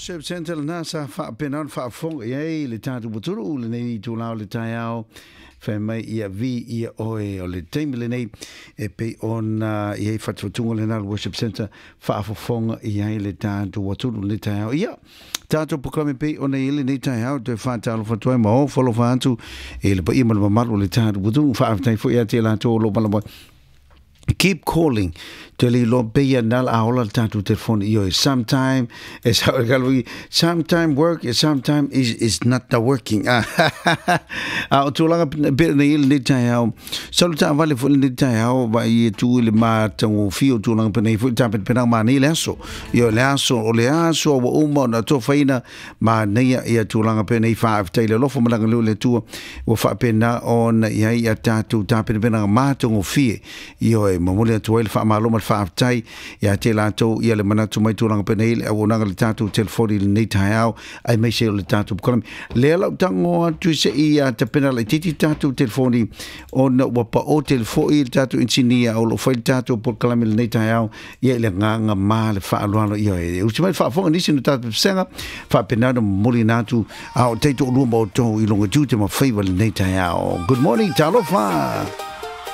Worship Centre lena sa faapena ona faafofoga i ai le tatou atunuu i lenei itula o le taeao, fai mai ia viia oe. O le taimi lenei e pei ona i ai fatufatuga lena o le Worship Centre faafofoga i ai le tatou atunuu i lenei taeao. Ia, tatou polokalame pei ona i ai lenei taeao, toe faatalofa atu ai ma ofo alofa atu i le paia ma le mamalu o le tatou atunuu. Faafetai foi ia te i latou o lo o valaau mai. Keep calling te le iloa pei na la ola le tatou telefoni. Ioe, sometime e sa sometime work, sometime is not the working. A o tulaga pe nei le taeao salu taavale foi le taeao vai e tu i le matagofie o tulaga pe nei foi tapenapena ma nei le aso. Ioe, le aso o le aso ua uma ona tofaina manaia ia tulaga pe nei. Faafetai le alofa ma le agalelei o le Atua ua faapena ona i ai ia tatou tapenapenaga matagofie. Ioe, momoli atu ai le faamalo ma le faafetai ia te latou ia le manatu mai tulaga penei le auaunaga le tatou telefoni i lenei taeao aemaise o le tatou polokalame. Lea lau tago atu se i a tapena laitiiti tatou telefoni ona ua pao tele foi le tatou inisinia o lo o fai le tatou polokalame i lenei taeao ia i le agaga ma le faaaloalo. Ioe, usi mai le faafofoga nisi no tatou pesega faapena ona momoli na atu a o taitoalua ma outou i luga tiute ma faiva lenei taeao. Good morning, talofa.